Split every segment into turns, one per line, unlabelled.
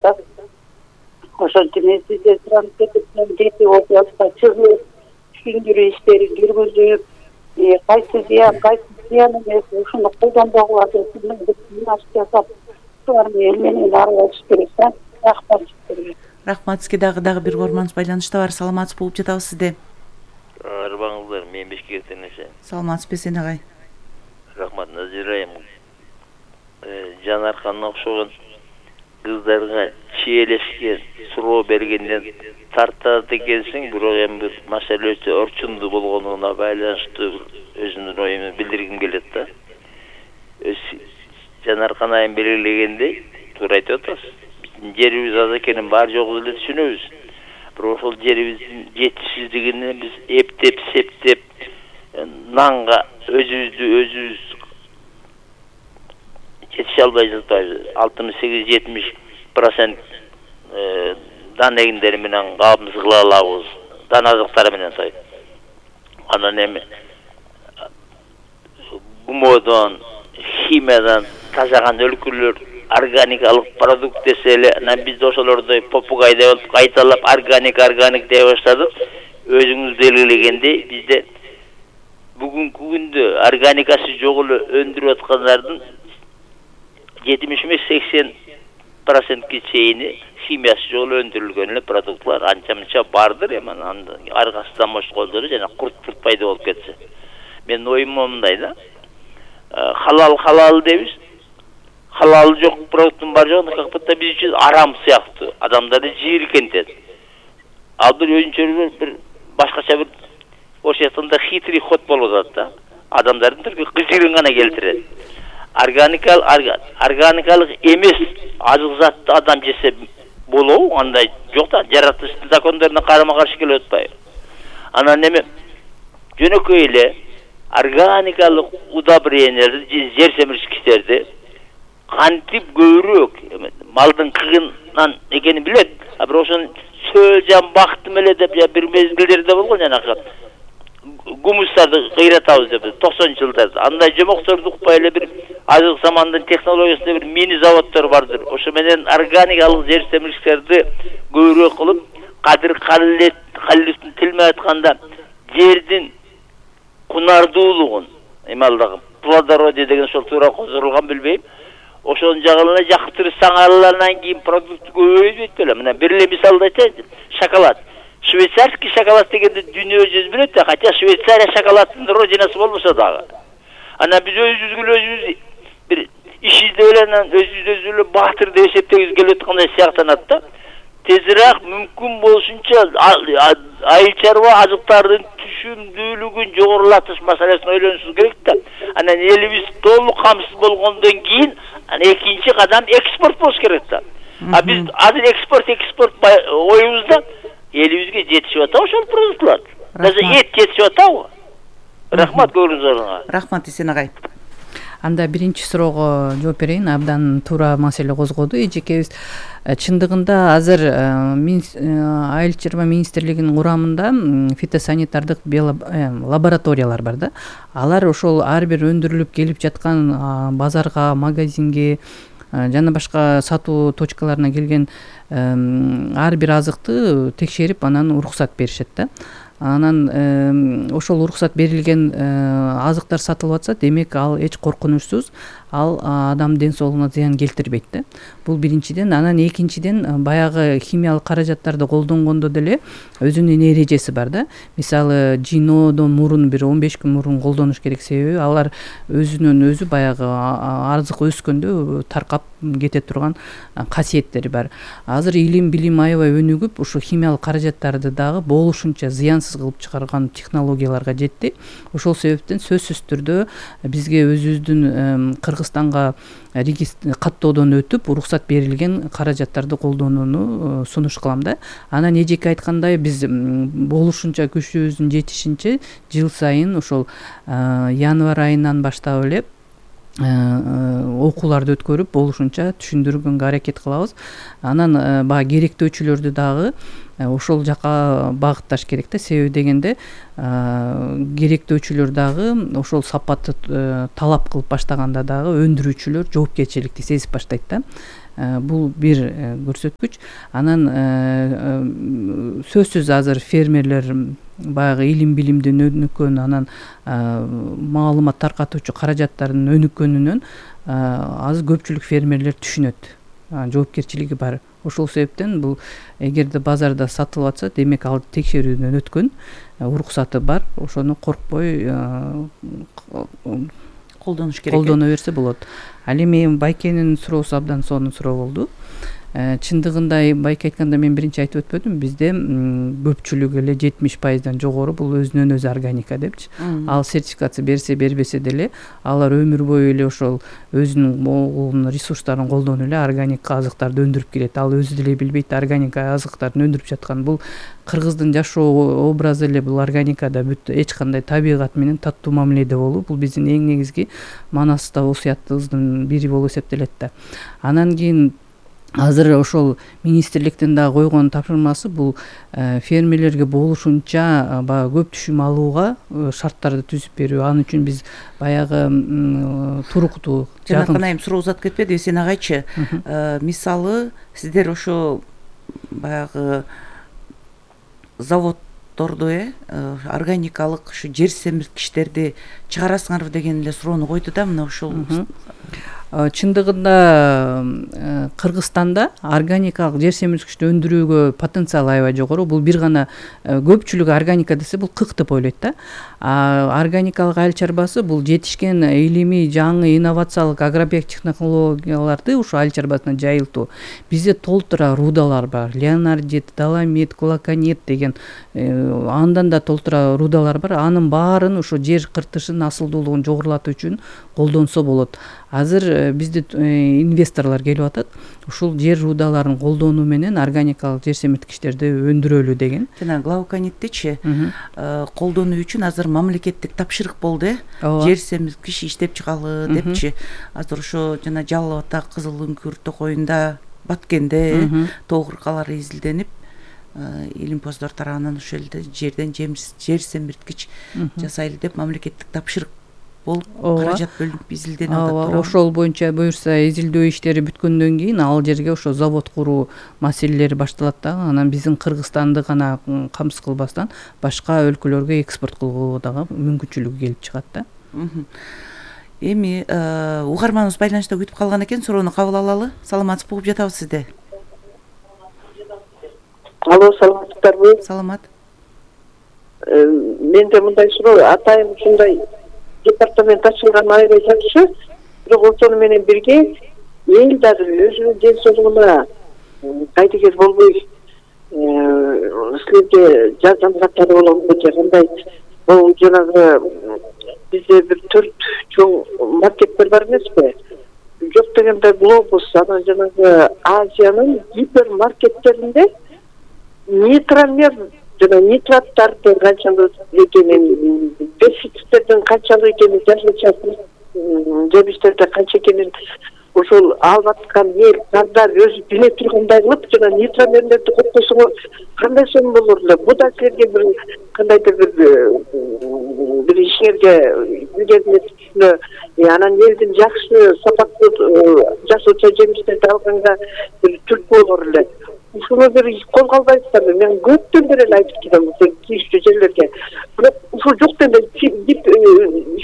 да. Ошончо мен сизден суранып кетиптен жети областта чыгып түшүндүрүү иштери жүргүзүп, кайсы зыян, кайсы зыян эмес, ушуну колдонбогула деп кеңеш жасап, шуларны эл менен аралашыш керек да.
Рахмат сизге дагы бир угарманыбыз байланышта бар. Саламатсыз болуп жатабыз сизде.
Арбаңыздар, мен Бишкектен эше.
Саламатсызбы сен агай?
Рахмат, Назира айым. Жанарканга окшогон кыздарга чиелешке суроо бергенден тартат экенсиң, бирок эми бир маселе өтө орчундуу болгонуна байланыштуу өзүмдүн оюмду билдиргим келет да. Жанаркан айым белгилегендей, туура айтып атасыз. Жерибиз аз экенин бар жогу эле түшүнөбүз. Бирок ошол жерибиздин жетишсиздигине биз эптеп, септеп, нанга өзүбүз жетише албай жатпайбыз. 68-70% дан эгиндери менен кабымыз кыла алабыз. Дан азыктары менен той. Анан эми гумодон, химиядан тазаган өлкөлөр органикалык продукт десе эле, анан биз ошолордой попугай деп кайталап органик дей баштадык. Өзүңүз белгилегендей, бизде бүгүнкү күндө органикасы жок эле өндүрүп аткандардын 70-80%ке чейини химиясы жок эле өндүрүлгөн эле продуктлар анча-мынча бардыр. Эми аргасынан мошколдору жана курт пайда болуп кетсе. Менин оюм мындай да. Халал дейбиз. Халал жок продукттун бар жогун как будто биз үчүн арам сыяктуу. Адамдарды жийиркентет. Ал бир өзүнчө бир башкача бир ошо жактанда хитрый ход болуп атат да. Адамдардын тилге кыжырын гана келтирет. Органикалык эмес азык затты адам жесе болобу? Андай жок да, жаратылыштын закондоруна карама-каршы келип атпайбы? Анан эми жөнөкөй эле органикалык удобренияларды, жер семиришкичтерди кантип көбүрөөк малдын кыгынан экенин билет. Бирок ошону сөөлжан бактым эле деп бир мезгилдерде болгон жанагы гумустарды кыйратабыз деп 90-жылдарда. Андай жомокторду укпай эле бир азыркы замандын технологиясында бир мини заводдор бардыр. Ошо менен органикалык жер семиришктерди көбүрөөк кылып, Кадыр-Калиловдун тил менен айтканда жердин кунардуулугун, эмалдагы плодородие деген ошол туура козурулган билбейм. Ошонун жагына жактырсаң алгандан кийин продукт көбөйбөйт беле. Мына бир эле мисалды айтайын. Шоколад. Швейцарский шоколад дегенди дүйнө жүз билет да, хотя Швейцария шоколаддын родинасы болбосо дагы. Анан биз өзүбүз бир иш издеп эле, өзүбүз эле баатыр деп эсептегибиз келип аткандай сыяктанат да. Тезирээк мүмкүн болушунча айыл чарба азыктардын түшүмдүүлүгүн жогорулатыш маселесин ойлонушубуз керек да. Анан элибиз толук камсыз болгондон кийин экинчи кадам экспорт болуш керек да. Биз азыр экспорт оюбузда элибизге жетишип атабы ошол продуктлар? Даже эт жетишип атабы? Рахмат көңүлүңүзгө.
Рахмат Эсен агай.
Анда биринчи суроого жооп берейин. Абдан туура маселе козгоду эжекебиз. Чындыгында азыр айыл чарба министрлигинин курамында фитосанитардык лабораториялар бар да. Алар ошол ар бир өндүрүлүп келип жаткан базарга, магазинге жана башка сатуу точкаларына келген ар бир азыкты текшерип анан уруксат беришет да. Анан ошол уруксат берилген азыктар сатылып атса, демек ал эч коркунучсуз, ал адам ден соолугуна зыян келтирбейт да. Бул биринчиден. Анан экинчиден, баягы химиялык каражаттарды колдонгондо деле өзүнүн эрежеси бар да. Мисалы, жиноодон мурун бир 15 күн мурун колдонуш керек, себеби алар өзүнөн өзү баягы азык өскөндө таркап кете турган касиеттери бар. Азыр илим билим аябай өнүгүп, ушу химиялык каражаттарды дагы болушунча зыянсыз кылып чыгарган технологияларга жетти. Ошол себептен сөзсүз түрдө бизге өзүбүздүн Кыргызстанга каттоодон өтүп уруксат берилген каражаттарды колдонууну сунуш кылам да. Анан эжеке айткандай, биз болушунча күчүбүздүн жетишинче жыл сайын ошол январь айынан баштап эле окууларды өткөрүп, болушунча түшүндүргөнгө аракет кылабыз. Анан баягы керектөөчүлөрдү дагы ошол жака багытташ керек да. Себеби дегенде керектөөчүлөр дагы ошол сапатты талап кылып баштаганда дагы өндүрүүчүлөр жоопкерчиликти сезип баштайт да. бул бир көрсөткүч. Анан сөзсүз азыр фермерлер баягы илим билимдин өнүккөн, анан маалымат таркатуучу каражаттардын өнүккөнүнөн азыр көпчүлүк фермерлер түшүнөт, жоопкерчилиги бар. Ошол себептен бул эгерде базарда сатылып атса, демек ал текшерүүдөн өткөн, уруксаты бар, ошону коркпой
колдонуш керек.
Колдоно берсе болот. Ал эми Байкенин суроосу абдан сонун суроо болду. Чындыгында Байке айтканда мен биринчи айтып өтпөдүм, бизде көпчүлүгү эле 70%дан жогору бул өзүнөн өзү органика депчи. Ал сертификация берсе бербесе деле алар өмүр бою эле ошол өзүнүн ресурстарын колдонуп эле органика азыктарды өндүрүп келет. Ал өзү деле билбейт органика азыктарды өндүрүп жаткан. Бул кыргыздын жашоо образы эле бул органикада бүт эч кандай табигат менен таттуу мамиледе болуу. Бул биздин эң негизги Манаста осуятыбыздын бири болуп эсептелет да. Анан кийин азыр ошол министрликтин да койгон тапшырмасы бул фермерлерге болушунча баягы көп түшүм алууга шарттарды түзүп берүү. Ал үчүн биз баягы туруктуу
жанакынайым суроо узатып кетпеди, Эсен агайчы. Мисалы сиздер ошо баягы заводдорду органикалык ушу жер семирткичтерди чыгарасыңарбы деген эле суроону койду да. Мына ушул
чындыгында Кыргызстанда органикалык жер семирткичти өндүрүүгө потенциал аябай жогору. Бул бир гана көпчүлүгү органика десе бул кык деп ойлойт да. Органикалык айыл чарбасы бул жетишкен илимий жаңы инновациялык агробиок технологияларды ушу айыл чарбасына жайылтуу. Бизде толтура рудалар бар. Леонардит, доломит, кулаканит деген андан да толтура рудалар бар. Анын баарын ушу жер кыртышын, асылдуулугун жогорулатуу үчүн колдонсо болот. Азыр бизде инвесторлор келип атат. Ушул жер рудаларын колдонуу менен органикалык жер семирткичтерди өндүрөлү деген.
Жана глаукониттичи колдонуу үчүн азыр мамлекеттик тапшырык болду, жер семирткич иштеп чыгалы депчи. Азыр ошо жана Жалал Абадта, Кызыл Үңкүр, Токойунда, Баткенде тоо кыркалары изилденип, илимпоздор тарабынан ошол жерден жер семирткич жасайлы деп мамлекеттик тапшырык болуп каражат бөлүнүп изилденип атат.
Ошол боюнча буюрса изилдөө иштери бүткөндөн кийин ал жерге ошо завод куруу маселелери башталат да. Анан биздин Кыргызстанды гана камсыз кылбастан башка өлкөлөргө экспорт кылууга дагы мүмкүнчүлүгү келип чыгат да.
Эми угарманыбыз байланышта күтүп калган экен, суроону кабыл алалы. Саламатсызбы, угуп жатабыз сизди.
Алло, саламатсыздарбы?
Саламат.
Менде мындай суроо, атайын ушундай департамент ачылган аябай жакшы, бирок ошону менен бирге эл дагы өзүнүн ден соолугуна кайдыгер болбой силерге жардам каттары боломбу же кандай? Бул жанагы бизде бир 4 чоң маркеттер бар эмеспи? Жок дегенде Глобус, анан жанагы Азиянын гипермаркеттеринде нитромер жана нитраттардын канчалык экенин, пестицидтердин канчалык экенин жазылчу, жемиштерде канча экенин ошол алып аткан эл кардар өзү биле тургандай кылып жана нитромерлерди коткосоңор кандай сон болор эле? Бу да силерге бир кандайдыр бир ишиңерге билгенине анан элдин жакшы сапаттуу жасуучу жемиштерди алганга бир түрткү болор эле. Ушуну бир кол калбайсыздарбы? Мен көптөн бери эле айтып келем ушул тийиштүү жерлерге. Бирок ушул жок дегенде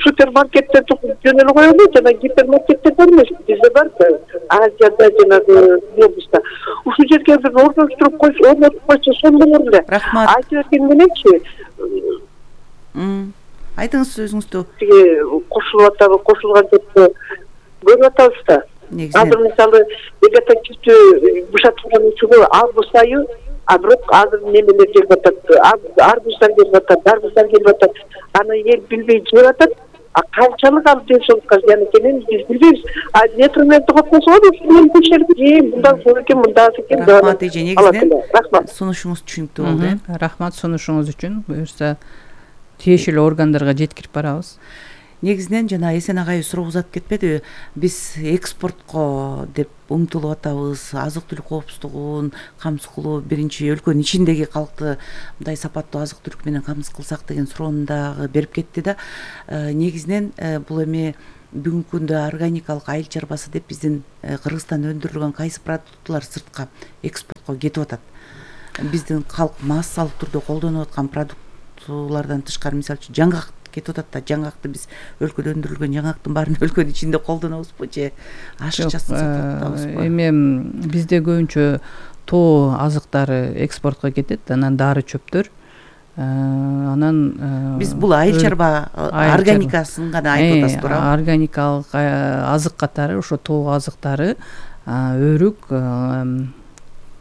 супермаркеттерди жөн эле коелу, жана гипермаркеттер бар эмес, бизде бар да, Азияда жанагы Глобуста. Ушул жерге бир орноштуруп койсо, орнотуп койсо сон болор эле.
Рахмат.
Айтып берген мененчи.
Айтыңыз өзүңүздү.
Кошулуп атабы, кошулган жокпу? Көрүп атабыз да. Азыр мисалы вегетативдүү бушатылган учуру август айы, бирок азыр немелер келип атат, арбуздар келип атат, дарбуздар келип атат. Аны эл билбей жеп атат. Канчалык ал ден соолукка зыян экенин биз билбейбиз. Нетромерди коткосо ушул көчөрүп, мындан зор экен, мындан аз экен.
Рахмат эже, негизинен
рахмат.
Сунушуңуз түшүнүктүү болду.
Рахмат сунушуңуз үчүн. Буюрса тиешелүү органдарга жеткирип барабыз.
Негизинен жана Эсен агай суроо узатып кетпедиби? Биз экспортко деп умтулуп атабыз, азык-түлүк коопсуздугун камсыз кылуу, биринчи өлкөнүн ичиндеги калкты мындай сапаттуу азык-түлүк менен камсыз кылсак деген суроону дагы берип кетти да. Негизинен бул эми бүгүнкү күндө органикалык айыл чарбасы деп биздин Кыргызстанда өндүрүлгөн кайсы продуктылар сыртка экспортко кетип атат. Биздин калк массалык түрдө колдонуп аткан продуктулардан тышкары, мисалы үчүн жаңгак кетип атат да, жаңгакты биз өлкөдө өндүрүлгөн жаңгактын баарын өлкөнүн ичинде колдонобузбу же ашыкчасын сатып атабызбы?
Эми бизде көбүнчө тоо азыктары экспортко кетет, анан дары чөптөр, анан
биз бул айыл чарба органикасын гана айтып атасыз туурабы?
Органикалык азык катары ошо тоо азыктары, өрүк,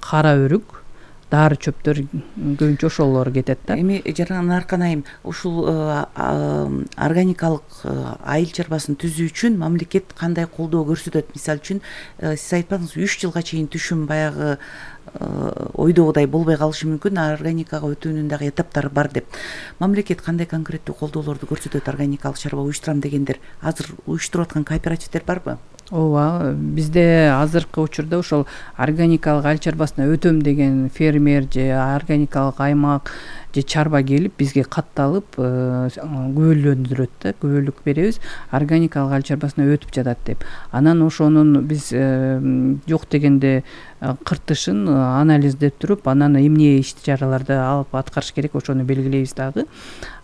кара өрүк, дары чөптөр көбүнчө ошолор кетет да.
Эми жаран Аркан айым, ушул органикалык айыл чарбасын түзүү үчүн мамлекет кандай колдоо көрсөтөт? Мисалы үчүн сиз айтпадыңызбы, 3 жылга чейин түшүм баягы ойдогудай болбой калышы мүмкүн, органикага өтүүнүн дагы этаптары бар деп. Мамлекет кандай конкреттүү колдоолорду көрсөтөт органикалык чарба уюштурам дегендер? Азыр уюштуруп аткан кооперативдер барбы?
Ооба, бизде азыркы учурда ошол органикалык айыл чарбасына өтөм деген фермер же органикалык аймак же чарба келип бизге катталып күбөлөндүрөт да, күбөлүк беребиз, органикалык айыл чарбасына өтүп жатат деп. Анан ошонун биз жок дегенде кыртышын анализдеп туруп, анан эмне иш чараларды алып аткарыш керек, ошону белгилейбиз дагы.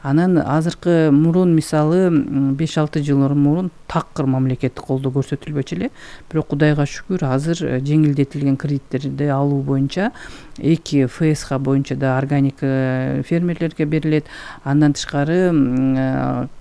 Анан азыркы мурун, мисалы 5-6 жыл мурун такыр мамлекеттик колдоо көрсөтүлбөчү эле, бирок Кудайга шүгүр азыр жеңилдетилген кредиттерди алуу боюнча 2 ФСХ боюнча да органик фермерлерге берилет. Андан тышкары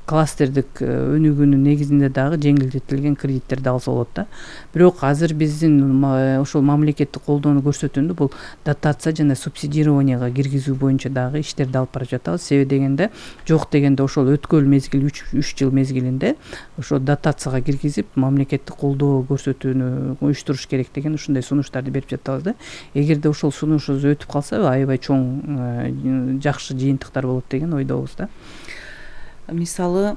кластердик өнүгүүнүн негизинде дагы жеңилдетилген кредиттерди алса болот да. Бирок азыр биздин ошол мамлекеттик колдоону көрсөтүүндө бул дотация жана субсидированияга киргизүү боюнча дагы иштерди алып барып жатабыз. Себеби дегенде жок дегенде ошол өткөл мезгил 3 жыл мезгилинде ошо дотацияга киргизип мамлекеттик колдоо көрсөтүүнү уюштуруш керек деген ушундай сунуштарды берип жатабыз да. Эгерде ошол сунушубуз өтүп калса, аябай чоң жакшы жыйынтыктар болот деген ойдобуз да.
Мисалы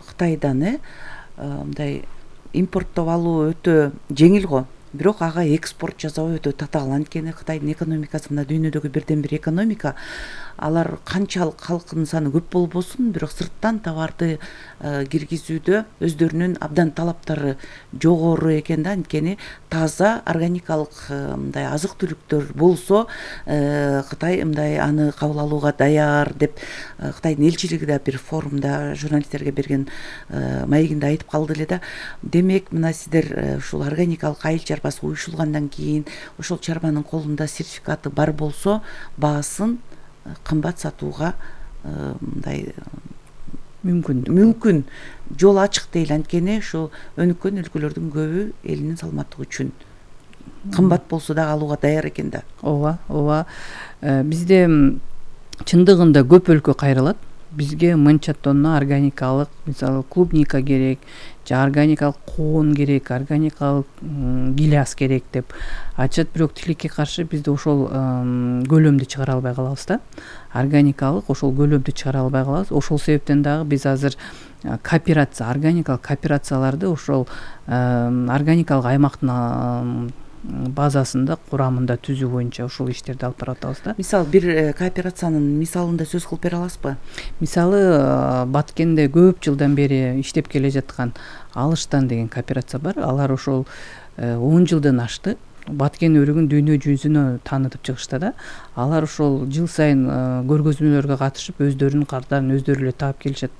Кытайдан мындай импорттоп алуу өтө жеңил го, бирок ага экспорт жасоо өтө татаал. Анткени Кытайдын экономикасы мына дүйнөдөгү бирден бир экономика. Алар канчалык халкынын саны көп болбосун, бирок сырттан товарды киргизүүдө өздөрүнүн абдан талаптары жогору экен да. Анткени таза органикалык мындай азык-түлүктөр болсо, Кытай мындай аны кабыл алууга даяр деп Кытайдын элчилиги да бир форумда журналисттерге берген маегинде айтып калды эле да. Демек, мына сиздер ушул органикалык айыл чарбасы уюшулгандан кийин ошол чарбанын колунда сертификаты бар болсо, баасын кымбат сатууга мындай мүмкүн жол ачык дейли. Анткени ушу өнүккөн өлкөлөрдүн көбү элинин саламаттыгы үчүн кымбат болсо дагы алууга даяр экен да.
Ооба. Бизде чындыгында көп өлкө кайрылат. Бизге мынча тонна органикалык, мисалы клубника керек, же органикалык коон керек, органикалык гиляс керек деп айтышат. Бирок тилекке каршы бизде ошол көлөмдү чыгара албай калабыз да. Органикалык ошол көлөмдү чыгара албай калабыз. Ошол себептен дагы биз азыр кооперация, органикалык кооперацияларды ошол органикалык аймактын базасында, курамында түзүү боюнча ушул иштерди алып барып атабыз да.
Мисалы бир кооперациянын мисалында сөз кылып бере аласызбы?
Мисалы Баткенде көп жылдан бери иштеп келе жаткан Алыштан деген кооперация бар. Алар ошол 10 жылдан ашты. Баткен өрүгүн дүйнө жүзүнө таанытып чыгышты да. Алар ошол жыл сайын көргөзмөлөргө катышып, өздөрүнүн кардарын өздөрү эле таап келишет.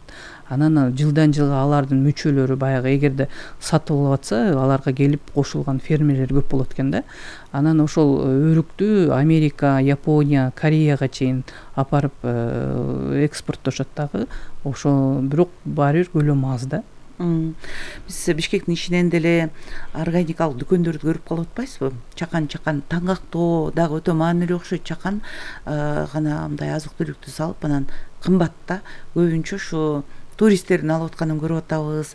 Анан жылдан жылга алардын мүчөлөрү баягы эгерде сатып алып атса, аларга келип кошулган фермерлер көп болот экен да. Анан ошол өрүктү Америка, Япония, Кореяга чейин апарып экспорттошот дагы. Ошо бирок баары бир көлөмү аз да.
Биз Бишкектин ичинен деле органикалык дүкөндөрдү көрүп калып атпайсызбы? Чакан таңгактоо дагы өтө маанилүү окшойт. Чакан гана мындай азык-түлүктү салып, анан кымбатта көбүнчө ушу туристтердин алып атканын көрүп атабыз.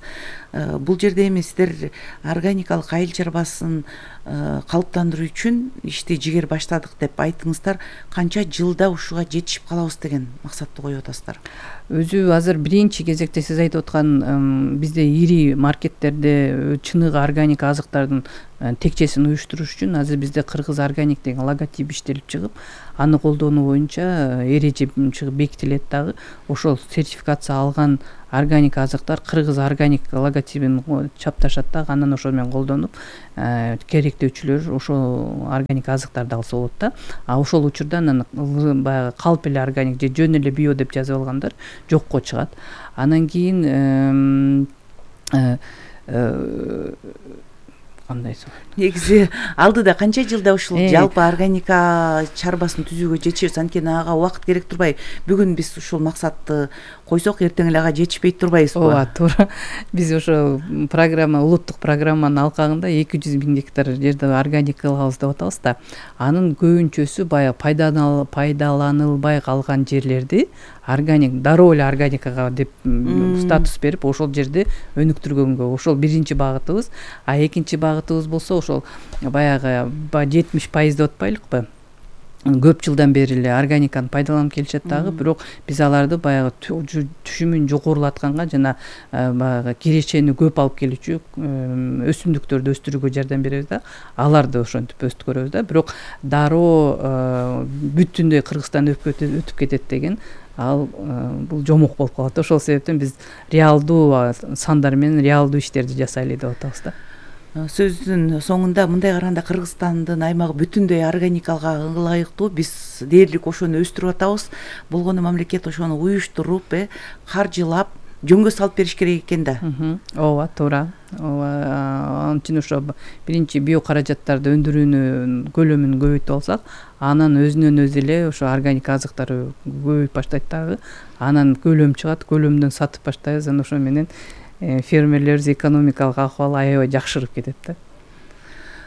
Бул жерде эми сиздер органикалык айыл чарбасын калыптандыруу үчүн ишти жигер баштадык деп айттыңыздар. Канча жылда ушуга жетишип калабыз деген максатты коюп атасыздар?
Өзү азыр биринчи кезекте сиз айтып аткан бизде ири маркеттерде чыныгы органик азыктардын текчесин уюштуруш үчүн азыр бизде Кыргыз органик деген логотип иштелип чыгып, аны колдонуу боюнча эреже чыгып бекитилет дагы. Ошол сертификация алган органик азыктар кыргыз органик логотипин чапташат да, анан ошо менен колдонуп керектөөчүлөр ошол органик азыктарды алса болот да. А ошол учурда анан баягы калп эле органик же жөн эле био деп жазып алгандар жокко чыгат. Анан кийин кандайсың?
Негизи алдыда канча жылда ушул жалпы органика чарбасын түзүүгө жетишебиз? Анткени ага убакыт керек турбайбы? Бүгүн биз ушул максатты койсок, эртең эле ага жетишпей турбайбызбы?
Ооба, туура. Биз ошо программа, улуттук программанын алкагында 200 000 гектар жерде органик кылабыз деп атабыз да. Анын көбүнчөсү баягы пайдаланылбай калган жерлерди органик, дароо эле органикага деп статус берип, ошол жерде өнүктүргөнгө ошол биринчи багытыбыз. А экинчи багытыбыз болсо ошол баягы 70% деп атпайлыкпы? Көп жылдан бери эле органиканы пайдаланып келишет дагы, бирок биз аларды баягы түшүмүн жогорулатканга жана баягы кирешени көп алып келүүчү өсүмдүктөрдү өстүрүүгө жардам беребиз да. Аларды ошентип өстүрөбүз да. Бирок дароо бүтүндөй Кыргызстан өтүп кетет деген ал бул жомок болуп калат. Ошол себептен биз реалдуу сандар менен реалдуу иштерди жасайлы деп атабыз да.
Сөздүн соңунда мындай караганда Кыргызстандын аймагы бүтүндөй органикага ылайыктуу, биз дээрлик ошону өстүрүп атабыз. Болгону мамлекет ошону уюштуруп, каржылап, жөнгө салып бериш керек экен да.
Ооба, туура. Ооба, анчын ошо биринчи био каражаттарды өндүрүүнүн көлөмүн көбөйтүп алсак, анан өзүнөн өзү эле ошо органик азыктар көбөйүп баштайт дагы. Анан көлөм чыгат, көлөмдөн сатып баштайбыз, анан ошо менен фермерлерибиз экономикалык акыбалы аябай жакшырып кетет да.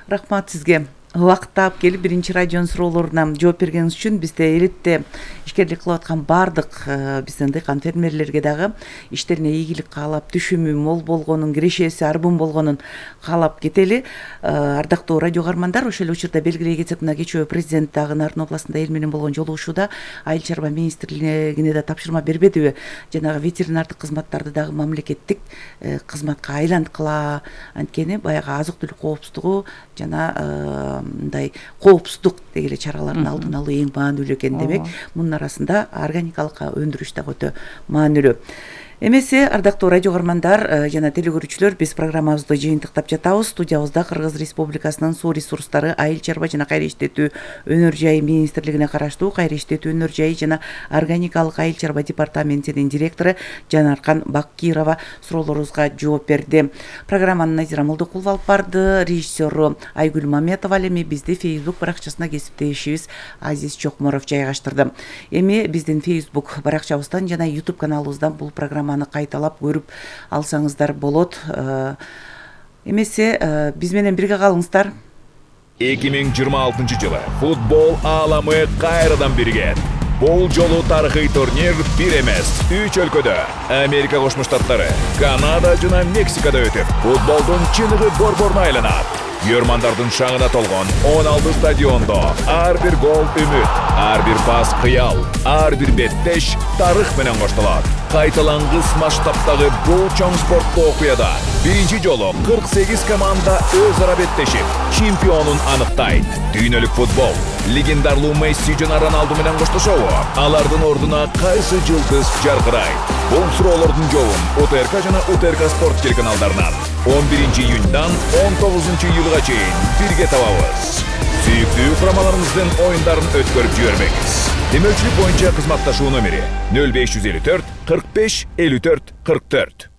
Рахмат сизге. Убакыт таап келип биринчи радионун суроолоруна жооп бергениңиз үчүн, бизде элетте ишкерлик кылып аткан баардык биздин дыйкан фермерлерге дагы иштерине ийгилик каалап, түшүмү мол болгонун, кирешеси арбын болгонун каалап кетели. Ардактуу радио каармандар, ошол эле учурда белгилей кетсек, мына кечээ президент дагы Нарын областында эл менен болгон жолугушууда Айыл чарба министрлигине да тапшырма бербедиби? Жанагы ветеринардык кызматтарды дагы мамлекеттик кызматка айланткыла, анткени баягы азык-түлүк коопсуздугу жана мындай коопсуздук деги эле чараларын алдын алуу эң маанилүү экен демек. Мунун арасында органикалык өндүрүш дагы өтө маанилүү. Эмесе, ардактуу радио каармандар жана телекөрүүчүлөр, биз программабызды жыйынтыктап жатабыз. Студиябызда Кыргыз Республикасынын суу ресурстары, айыл чарба жана кайра иштетүү өнөр жайы министрлигине караштуу кайра иштетүү өнөр жайы жана органикалык айыл чарба департаментинин директору Жанаркан Баккирова суроолорубузга жооп берди. Программаны Назира Молдокулова алып барды, режиссеру Айгүл Маметова, эми бизди Facebook баракчасына кесиптешибиз Азиз Чокморов жайгаштырды. Эми биздин Facebook баракчабыздан жана YouTube каналыбыздан бул программаны кайталап көрүп алсаңыздар болот. Эмесе, биз менен бирге калыңыздар.
2026 жылы футбол ааламы кайрадан биригет. Бул жолу тарыхый турнир бир эмес, 3 өлкөдө, Америка Кошмо Штаттары, Канада жана Мексикада өтүп, футболдун чыныгы борборуна айланат. Көрмандардын шаңына толгон 16 стадиондо ар бир гол үмүт, ар бир пас кыял, ар бир беттеш тарых менен коштолот. Кайталангыс масштабтагы бул чоң спорттуу окуяда биринчи жолу 48 команда өз ара беттешип, чемпионун аныктайт. Дүйнөлүк футбол легендарлуу Месси жана Роналду менен коштошобу? Алардын ордуна кайсы жылдыз жаркырайт? Бул суроолордун жообун УТРК жана УТРК спорт телеканалдарынан 11 июньдан 19 июлга чейин бирге табабыз. Сүйүктүү курамаларыбыздын оюндарын өткөрүп жибербеңиз. Демөөлчүлүк боюнча кызматташуу номери 0554 45 54 44.